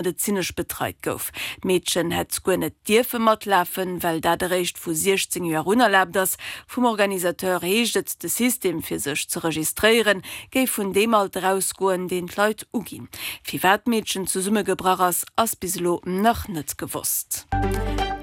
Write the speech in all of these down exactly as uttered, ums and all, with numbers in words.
Medezinesch betreit gouf. D'Meedchen hätt guer net dierfe matlafen, well dat eréischt vu siechzéng Joer un erlaabt ass. Vum Organisateur heescht et, de System fir sech ze registréieren, géif vun deem Alter ausgoen, deen d'Leit uginn. Firwat d'Meedchen zesummegebrach ass, ass bis elo nach net gewosst.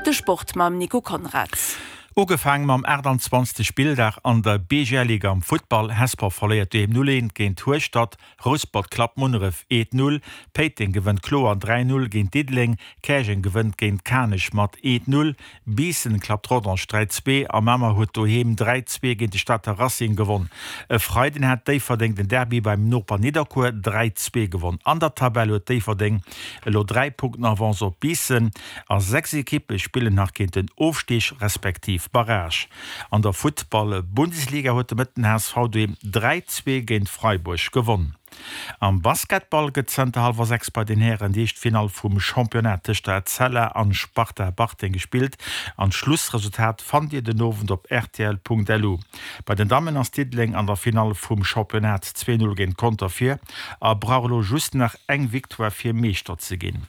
De Sport mam Nico Conrads. Ugefaange mam aachtanzwanzegste Spilldag an der B G L Liga am Futtball, Hesper verléiert doheem null eent géint Hueschtert, Rouspert klappt Munneref eent null, Péiteng gewënnt kloer dräi null géint Diddeleng, Käerjeng gewënnt géint Kanech mat eent null, Biissen klappt Rodange dräi zwee a Mamer huet doheem dräi zwee géint de Stater Racing gewonn. E Freiden hat Déifferdeng den Derby beim Noper Nidderkuer dräi zwee gewonn. An der Tabell huet Déifferdeng elo dräi Punkten Avance op Biissen a sechs Ekippe spillen nach géint den Ofstig respektiv Barrage. An der Futtball-Bundesliga huet de Mëtten H S V doheem dräi zwee géint Freiburg gewonn. Am Basketball gëtt zënter hallwer sechs bei den Hären déi éischt Finall vum Championnat tëscht der Etzella an Sparta Bartreng gespillt an d'Schlussresultat fannt Dir den Owend op rtl Punkt L U. Bei den Dammen ass Diddeleng an der Finall vum Championnat zwee null géint Conter vir a brauch elo just nach eng Victoire fir Meeschter ze ginn.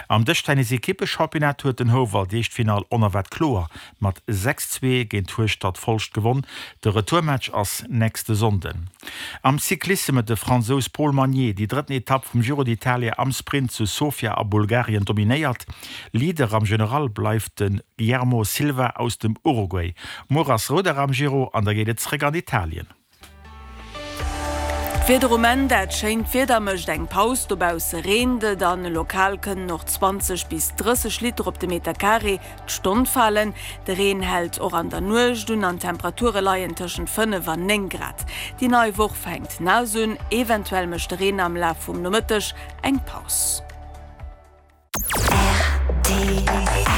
Am Dëschtennis-Ekippechampionnat huet den Houwald déi éischt Finall onerwaart kloer mat sechs zwee géint Hueschtert Folscht gewonn. De Retourmatch ass nächste Sonnden. Am Cyclissem huet de Fransous Paul Magnier déi drëtten Etapp vum Giro d'Italia am Sprint zu Sofia a Bulgarien dominéiert. Leader am General bleift de Guillermo Silva aus dem Uruguay. Muer ass Rouder am Giro an da geet et zeréck an Italien. D'Wieder um Enn, Dat schéint Wieder mécht eng Paus, dobausse reent et an lokal kënnen och zwanzeg bis drësseg Liter op de Meter Carré d'Stonn falen. De Reen hält och an der Nuecht un an d'Temperature leien tëschent fënnef an néng Grad. Déi nei Woch fänkt naass un, eventuell mécht de Reen am Laf vum Nomëtteg eng Paus. R T L.